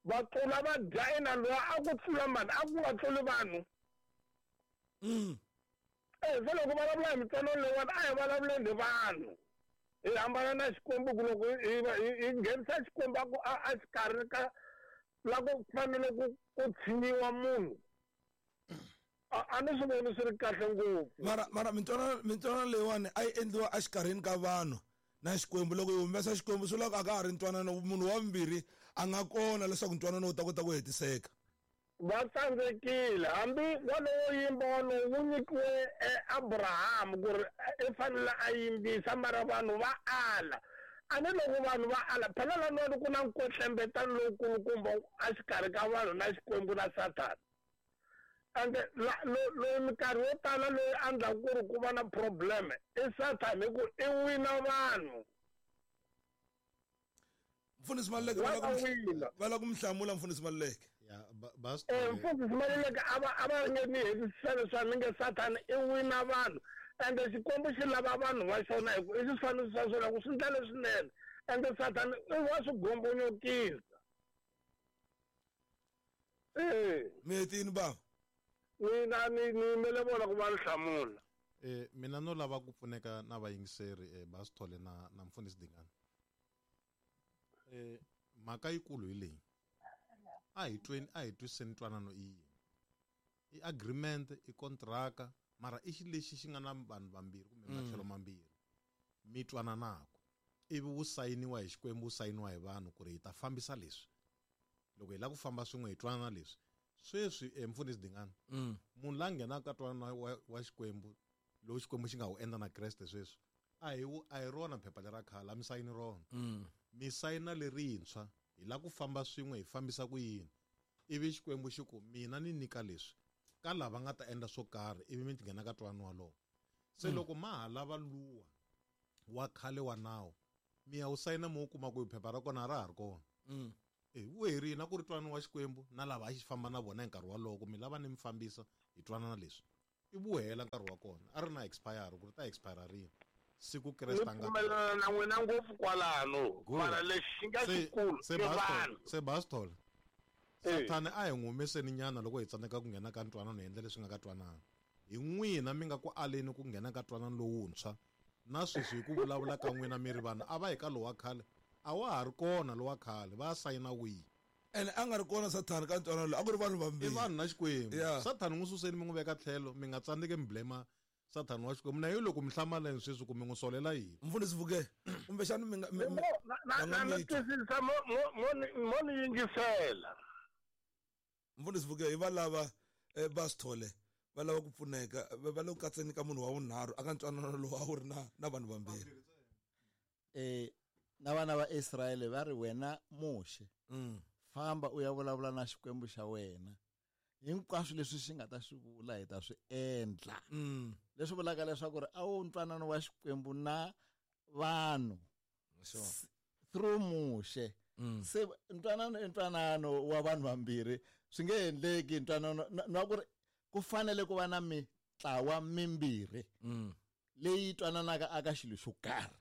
Va tlula va dya ina loyi a ku tlula mani a ku nga tluli vanhu. Mm. Eh se loko vulavula hi mintwanano leyiwani a hi vulavuleni hi vanhu. Hi hambana na Xikwembu ku loko hi hi nghenisa Xikwembu a ku a xikarhi ka la ku fanele ku ku tshinyiwa munhu. A ni swi voni swi ri kahle ngopfu. Mara mara mintwanano mintwanano leyiwani a yi endliwa exikarhini ka vanhu na Xikwembu. Loko hi humesa Xikwembu swi loko a ka ha ri ntwanano, munhu wa vumbirhi a nga kona leswaku ntwanano wu ta kota ku hetiseka. Va tsandzekile hambi walowo yimba walowo wu nyikiwe Abraham ku ri i fanele a yimbisa, mara vanhu va ala. A ni loko vanhu va ala phela laniwani ku na nkwetlembetano lowukulukumba exikarhi ka vanhu na Xikwembu na Sathana. Ende loyi minkarhi yo tala loyi a endlaku ku ri ku va na problem i Sathana hi ku i wina vanhu. Mfundhisi Maluleke va lava ku mi hlamula mfundhisi Maluleke. Eh mfundhisi Maluleke a va a va nge ni hetisisa leswi ni nge Sathana i wina vanhu. Ende Xikwembu xi lava vanhu va xona hi ku i swifaniso swa swona ku swi ndla leswinene. Ende Sathana i wa swi gombonyokisa. Eh mi hetini bava? Mina ni ni yimele vona ku va ni hlamula. Eh mina no lava ku pfuneka na vayingiseri eh Basithole na na mfundhisi Dingana. Eh mhaka yikulu hi leyi. A hi tweni a hi twisiseni ntwanano i yini. I agreement, i kontraka, mara i xilo lexi xi nga na vanhu vambirhi kumbe matlhelo mambirhi mi twananaka, ivi wu sayiniwa hi Xikwembu, wu sayiniwa hi vanhu ku ri hi ta fambisa leswi. Loko hi lava ku famba swin'we hi twanana leswi. Sweswi eh, mfundhisi Dingana, munhu la nghenaka ka twanana wa, wa Xikwembu lowu Xikwembu xi nga wu endla na Kreste sweswi, a hi a hi rona phepha lera khale, a mi sayini rona. Mi sayina lerintshwa, hi lava ku famba swin'we hi fambisa ku yini. Ivi Xikwembu xi ku mina ni nyika leswi ka lava nga ta endla swo karhi, ivi mi nghena ka twanano walowo. Se loko ma ha lava luwa wa khale wa nawu, Mi ya wu sayina mo kuma ku phepha ra kona ra ha ri kona. Mm. Eh wu herile na ku ri twanana wa Xikwembu na lava a xi famba na vona hi nkarhi wolowo ku mi lava ni mi fambisa hi twanana leswi. I vuhela nkarhi wa kona a ri na expire ku ri ta expire rini siku Kreste a nga pfumelana na n'wina ngopfu kwalano mara lexi xi nga xikulu se se Bastol Sathane a hi n'wi humeseni nyana loko hi tsandzeka ku nghena ka ntwanano hi endla leswi nga ka twanana hi n'wina mi nga ku aleni ku nghena ka twanano lowuntshwa na sweswi hi ku vulavula ka n'wina mi ri vanhu a va hi ka lowa khale a wa ha ri kona lowa khale va sayina wihi ene a nga ri kona Sathane ka ntwanano lowu a ku ri vanhu vambirhi i vanhu na Xikwembu Sathane n'wi suseni mi n'wi veka tlhelo mi nga tsandzeki mi blame Sathane wa Xikwembu na yo loko mi hlamaleni sweswi ku mi n'wi solela yini mfundhisi Vuke kumbexana mi nga na na twisisa mo mo mo ni yingisela mfundhisi Vuke hi va lava Basithole va lava ku pfuneka va le ku katseni ka munhu wa vunharhu aka ntwanano lowu a wu ri na na vanhu vambirhi eh na vana va Israyele va ri wena Muxe famba u ya vulavula na Xikwembu xa wena hinkwaswo leswi xi nga ta swi vula hi ta swi endla leswi vulaka leswaku ri a wu ntwanano wa Xikwembu na vanhu through Muxe se ntwanano i ntwanano wa vanhu vambirhi swi nge endleki ntwanano na ku ri ku fanele ku va na mitlawa mimbirhi leyi twananaka aka xilo xo karhi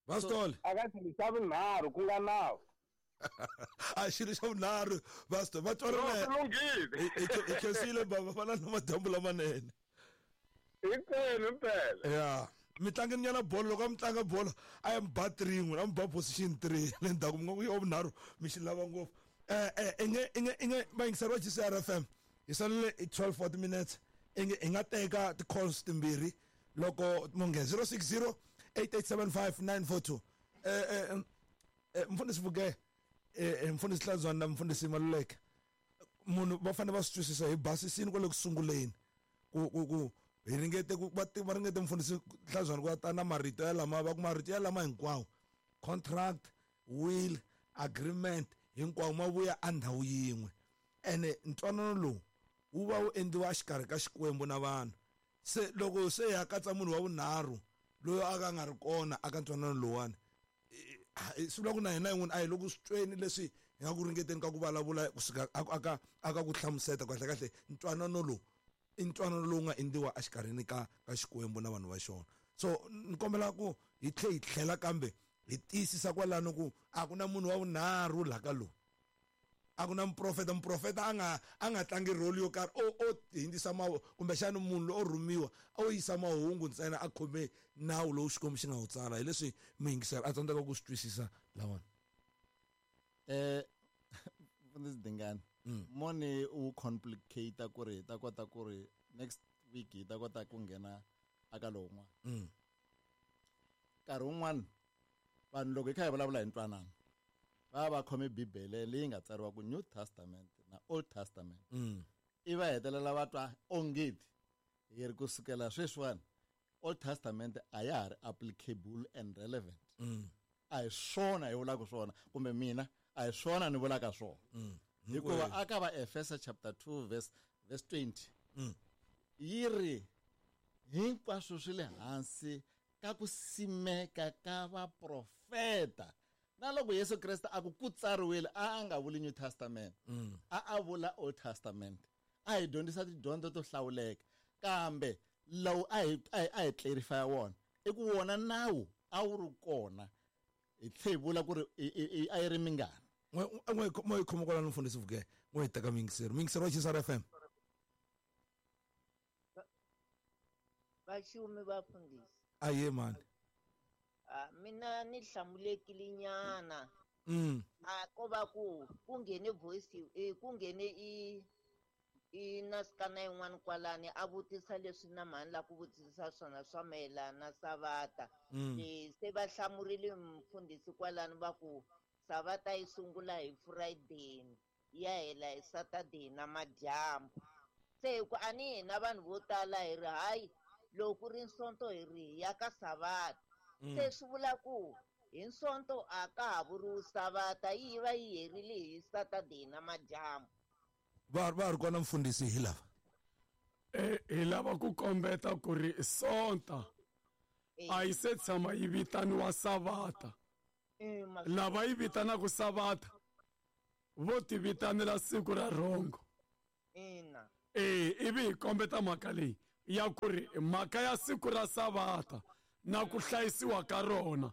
Bastol aka xilo xa vunharhu ku nga nawu a xilo xa vunharhu Bastol va twanana lunghile i khensile baba fana na madyambu lamanene hinkwenu mpela ya mi tlangeni nyana bolo loko a mi tlanga bolo a ya mi ba three n'wina a mi ba position three le ndzhaku mi nga ku ya vunharhu mi xi lava ngopfu eh eh inge inge inge vayingiseri va G C R F M hi salele i twelve forty minutes inge hi nga teka ti-calls timbirhi loko munge zero six zero eight eight seven five nine four two eh eh mfundhisi Vuke eh mfundhisi Hlanzwana na mfundhisi Maluleke munhu va fanele va swi twisisa hi basisini kwale ku sunguleni ku ku ku hi ringete ku va va ringete mfundhisi Hlanzwana ku ta na marito ya lama va ku marito ya lama hinkwawo contract will agreement hinkwawo ma vuya a ndhawu yin'we ene ntwanano lowu wu va wu endliwa exikarhi ka Xikwembu na vanhu se loko se ya katsa munhu wa vunharhu loyi a ka nga ri kona aka ntwanano lowani swi vula ku na hina yin'wana a hi loko swi tweni leswi hi nga ku ringeteni ka ku vulavula kusuka aka aka ku hlamuseta kahle kahle ntwanano lowu i ntwanano lowu nga endliwa exikarhini ka ka Xikwembu na vanhu va xona so ni kombela ku hi tlhe hi tlhela kambe hi tiyisisa kwalano ku a ku na munhu wa vunharhu laha ka lowu a ku na muprofeta muprofeta a nga a nga tlangi role yo karhi o o hindzisa mawu kumbexana munhu loyi o rhumiwa o yisa mahungu ntsena a khome nawu lowu Xikwembu xi nga wu tsala hi leswi muyingiseri a tsandzeka ku swi twisisa lawani eh mfundhisi Dingani moni u complicate ku ri hi ta kota ku ri next week hi ta kota ku nghena aka lowun'wana nkarhi wun'wana vanhu loko hi kha hi vulavula hi ntwanano va va khome Bibele leyi nga tsariwa ku New Testament na Old Testament i va hetelela va twa ongeti hi ri kusukela sweswiwani Old Testament a ya ha ri applicable and relevant a hi swona hi vulaka swona kumbe mina a hi swona ni vulaka swona hikuva aka va Efesa chapter two verse verse twenty yi ri hinkwaswo swi le hansi ka ku simeka ka vaprofeta na loko Yesu Kreste a ku ku tsariwile a a nga vuli New Testament a a vula Old Testament a hi dyondzisa tidyondzo to hlawuleka kambe lowu a hi a hi clarify wona i ku wona nawu a wu ri kona hi tlhe hi vula ku ri a yi ri mingani n'we n'we hi khoma kwalano mfundhisi Vuke n'we hi teka muyingiseri muyingiseri wa G C R F M vaxumi vafundhisi aye mani mina ni hlamulekile nyana mm a ko va ku ku nghene voice eh ku nghene i i nasikana yin'wana kwalani a vutisa leswi na mhani la ku vutisa swona swa mayelana na savata eh se va hlamurile mfundhisi kwalani va ku savata yi sungula hi Friday ya hela hi Saturday na madyambu se hi ku a ni hina vanhu vo tala hi ri hayi loko ku ri Sonto hi ri ya ka savata se swi vula ku hi Sonto a ka ha vuriwi savata yi va yi herile hi Saturday na madyambu va va ri kona mfundhisi hi lava eh hi lava ku kombeta ku ri Sonta A yi se tshama yi vitaniwa Savata. Lava yi vitanaka Savata vo ti vitanela siku ra rhongo. Ina. Eh, ivi hi kombeta mhaka leyi ya ku ri mhaka ya siku ra Savata na ku hlayisiwa ka rona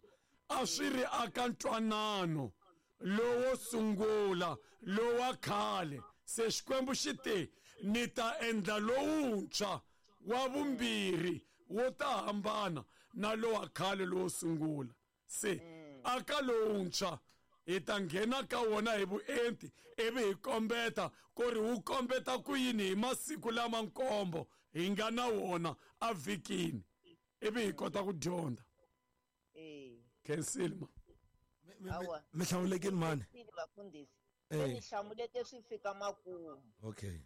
a swi ri aka ntwanano lowo sungula lowa khale. Se Xikwembu xi te ni ta endla lowuntshwa wa vumbirhi wo ta hambana na lowa khale lowo sungula. Se aka lowuntshwa hi ta nghena ka wona hi vuenti ivi hi kombeta ku ri wu kombeta ku yini hi masiku lama nkombo hi nga na wona a vhikini, ivi hi kota ku dyondza. Khensile ma. Mi hlawulekini mani? Vafundhisi. Mi hlamuleke swi fika makumu. Okay.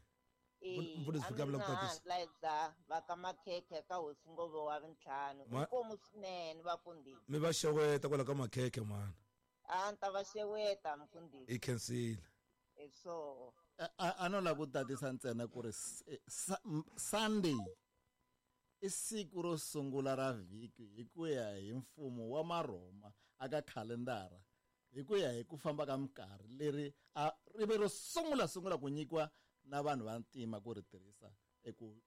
Mfundhisi fika vula ku tatisa. Layza va ka Makhekhe ka hosi Ngove wa vintlhanu. Inkomu swinene vafundhisi. Mi va xeweta kwala ka Makhekhe mani. A ni ta va xeweta mfundhisi. I khensile. So a no lava ku tatisa ntsena ku ri Sunday i siku ro sungula ra vhiki hi ku ya hi mfumo wa Maroma aka khalendara, hi ku ya hi ku famba ka minkarhi leri a ri ve ro sungula sungula ku nyikiwa na vanhu va ntima ku ri tirhisa eku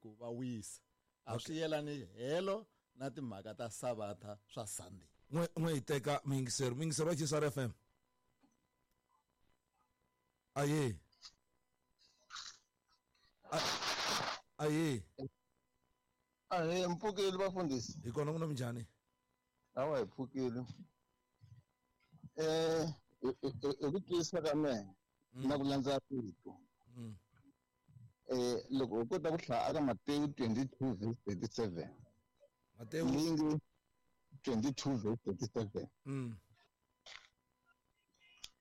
ku va wisa. A swi yelani helo na timhaka ta Savata swa Sunday. N'we n'we hi teka muyingiseri, muyingiseri wa G S R F M. Aye. Aye. Ahe, mpfukile vafundhisi. Hi kona ku na minjhani? Awa hi pfukile. Eh, hi ku twisisa ka mehe na ku landza rito. Eh, loko u kota ku hlaya aka Matewu twenty-two verse thirty-seven. Matewu leyi nge twenty-two verse thirty-seven. Mm.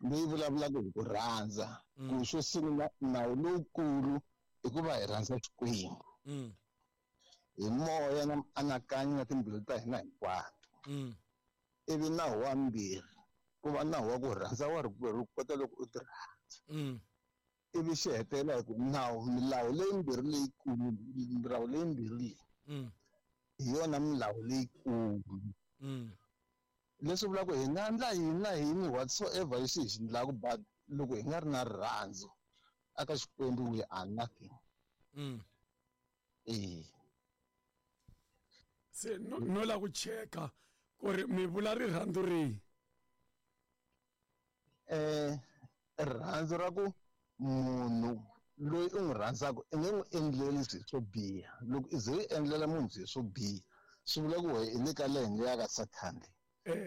Leyi vulavulaka hi ku rhandza. Ku xo sungula nawu lowukulu i ku va hi rhandza Xikwembu. Mm. Hi moya na mianakanyo na timbilu ta hina hinkwato. Ivi nawu wa mbirhi ku va nawu wa ku rhandza wa rikwerhu kota loko u ti rhandza. Ivi xi hetelela hi ku nawu milawu leyimbirhi leyikulu milawu leyimbirhi leyi hi yona milawu leyikulu. Leswi vulaka hi nga endla yini na yini whatsoever lexi hi xi endlaka, but loko hi nga ri na rirhandzu aka Xikwembu we are nothing. Eh. Se no no la ku cheka ku ri mi vula rirhandzu rihi? Eh, rirhandzu ra ku munhu loyi u n'wi rhandzaka i nge n'wi endleli swilo swo biha. Loko i ze i endlela munhu swilo swo biha swi vula ku wena i le ka lene ya ka Sathana.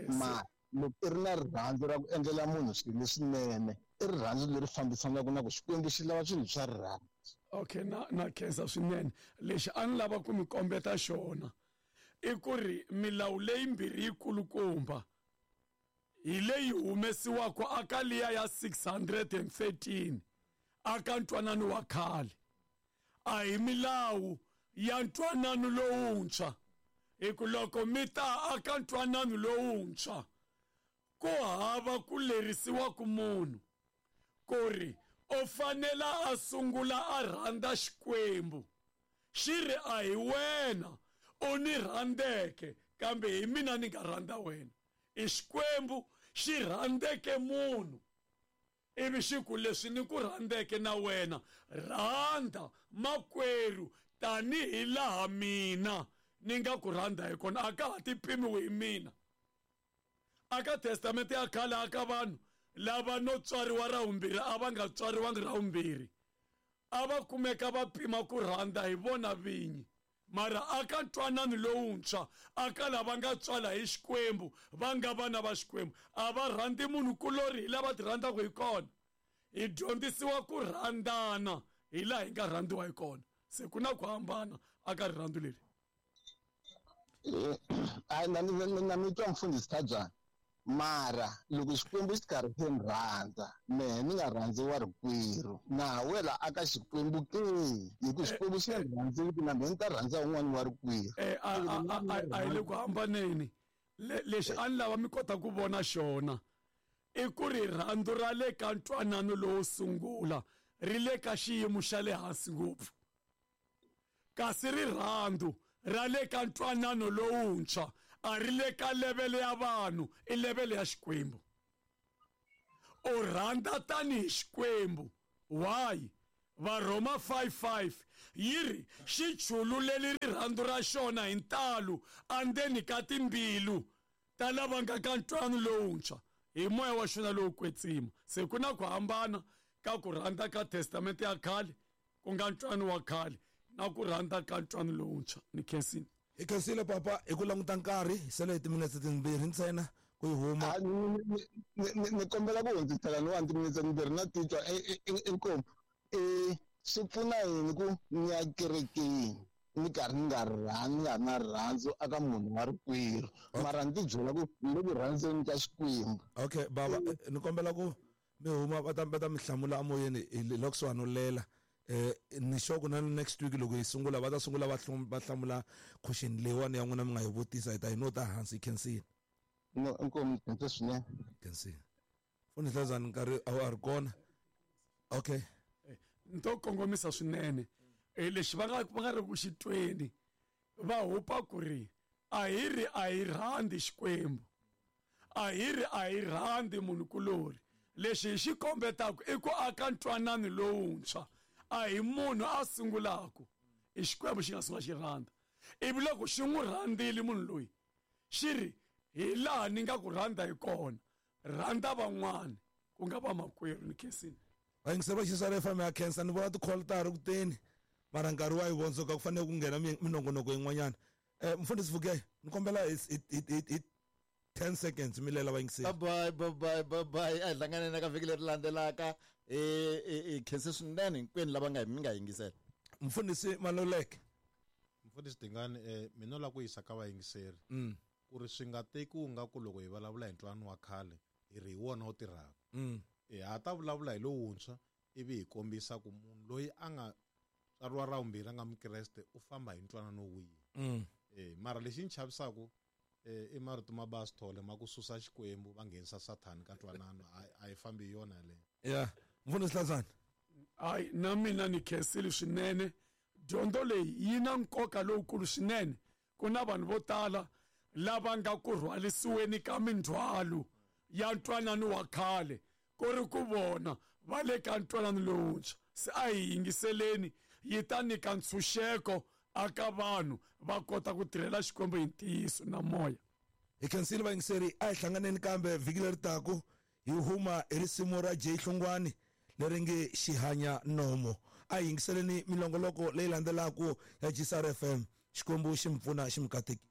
Ma loko i ri na rirhandzu ra ku endlela munhu swilo leswinene, i rirhandzu leri fambisanaka na ku Xikwembu xi lava swilo swa rirhandzu. Okay, na na khensa swinene. Lexi a ni lava ku mi kombeta xona i ku ri milawu leyimbirhi yikulukumba hi leyi humesiwaka aka liya ya six hundred and thirteen aka ntwanano wa khale. A hi milawu ya ntwanano lowuntshwa, hi ku loko mi ta aka ntwanano lowuntshwa ku hava ku lerisiwa ku munhu ku ri u fanela a sungula a rhandza Xikwembu. Xi ri a hi wena u ni rhandzeke, kambe hi mina ni nga rhandza wena. I Xikwembu xi rhandzeke munhu ivi xi ku leswi ni ku rhandzeke na wena, rhandza makwerhu tanihi laha mina ni nga ku rhandza hi kona. A ka ha ti pimiwi hi mina. Aka testamente ya khale aka vanhu lava no tswariwa ra vumbirhi a va nga tswariwangi ra vumbirhi, a va kumeka va pima ku rhandza hi vona vinyi. Mara aka ntwanano lowuntshwa aka lava nga tswala hi Xikwembu va nga vana va Xikwembu a va rhandzi munhu kulori hi lava ti rhandzaka hi kona. Hi dyondzisiwa ku rhandzana hi laha hi nga rhandziwa hi kona. Se ku na ku hambana aka rirhandzu leri. A na na mi twa mfundhisi Khabyani, mara loko Xikwembu xi karhi xi ni rhandza mehe ni nga rhandzi wa rikwerhu, na ha wela aka Xikwembu ke, hi ku Xikwembu xi nga rhandziki na mehe ni ta rhandza un'wana wa rikwerhu. Eh, a hi le ku hambaneni. Lexi a ni lava mi kota ku vona xona i ku rirhandzu ra le ka ntwanano lowo sungula ri le ka xiyimo xa le hansi ngopfu, kasi rirhandzu ra le ka ntwanano lowuntshwa a ri le ka levele ya vanhu, i levele ya Xikwembu. U rhandza tanihi Xikwembu. Why? Varhoma five five yi ri xi chululeli rirhandzu ra xona hi ntalo andzeni ka timbilu ta lava nga ka ntwanano lowuntshwa hi moya wa xona lowo kwetsima. Se ku na ku hambana ka ku rhandza ka testamente ya khale ku nga ntwanano wa khale na ku rhandza ka ntwanano lowuntshwa. Ni khensile. Hi khensile papa hi ku languta nkarhi hi sele hi timinetse timbirhi ntsena ku yi huma. Ni kombela ku hundzisela ni wa timinetse timbirhi na titwa inkomu. Eh swi pfuna yini ku ni ya kerekeni ni karhi ni nga rhandzi ni nga ri na rirhandzu aka munhu wa rikwerhu, mara ni ti byela ku ni le ku rhandzeni ka Xikwembu. Okay baba, ni kombela ku mi huma va ta va ta mi hlamula emoyeni hi loko kusuhani no lela. Eh ni sure ku na next week loko hi sungula va ta sungula va va hlamula question leyiwani ya n'wina mi nga yi vutisa, hi ta yi nota hansi. Hi khensile. No, inkomu khensa swinene. Khensile. Mfundhisi Hlazani nkarhi a wu ri kona. Okay. Nto kongomisa swinene lexi va nga va nga ri ku xitweni va hupa ku ri a hi ri a hi rhandzi Xikwembu, a hi ri a hi rhandzi munhukulori. Lexi hi xi kombetaka i ku aka ntwanano lowuntshwa, a hi munhu a sungulaka, i Xikwembu xi nga sungula xi rhandza. Ivi loko xi n'wi rhandzile munhu loyi xi ri hi laha ni nga ku rhandza hi kona, rhandza van'wana ku nga vamakwerhu. Ni khensile. Vayingiseri va G C R F M ya khensa. Ni vona ti-call ta ha ri ku teni, mara nkarhi wa yi vondzoka, ku fanele ku nghena minongonoko yin'wanyana. Eh mfundhisi Vuke, ni kombela hi hi ten seconds mi lela vayingiseri. Bye bye bye bye bye. A hi hlanganeni ka vhiki leri landzelaka. Eh khense swinene hinkwenu lava nga mi nga yingisela. Mfundhisi Maluleke. Mfundhisi Dingani, eh mina la ku yisa ka vayingiseri ku ri swi nga tekiwi nga ku loko hi vulavula hi ntwanano wa khale hi ri hi wona wu tirhaka. Eh ha ta vulavula hi lowuntshwa ivi hi kombisa ku munhu loyi a nga tswariwa ra vumbirhi a nga mukreste u famba hi ntwanano wihi. Eh mara lexi ni chavisaka eh i marito ma Basithole ma ku susa Xikwembu va nghenisa Sathani ka ntwanano, a yi fambi hi yona yaleyo. Yeah. Mfundhisi Hlazani. Hayi, na mina ni khensile swinene. Dyondzo leyi yi na nkoka lowukulu swinene. Ku na vanhu vo tala lava nga ku rhwalisiweni ka mindzhwalo ya ntwanano wa khale ku ri ku vona va le ka ntwanano lowuntshwa. Se a hi yingiseleni, yi ta nyika ntshunxeko aka vanhu va kota ku tirhela Xikwembu hi ntiyiso na moya. Hi khensile vayingiseri, a hi hlanganeni kambe vhiki leri taku hi huma hi risimu ra Jay Hlongwane leri nge Xihanya Nomo. A hi yingiseleni milongoloko leyi landzelaka ya G C R F M. Xikwembu xi mi pfuna xi mi katekisa.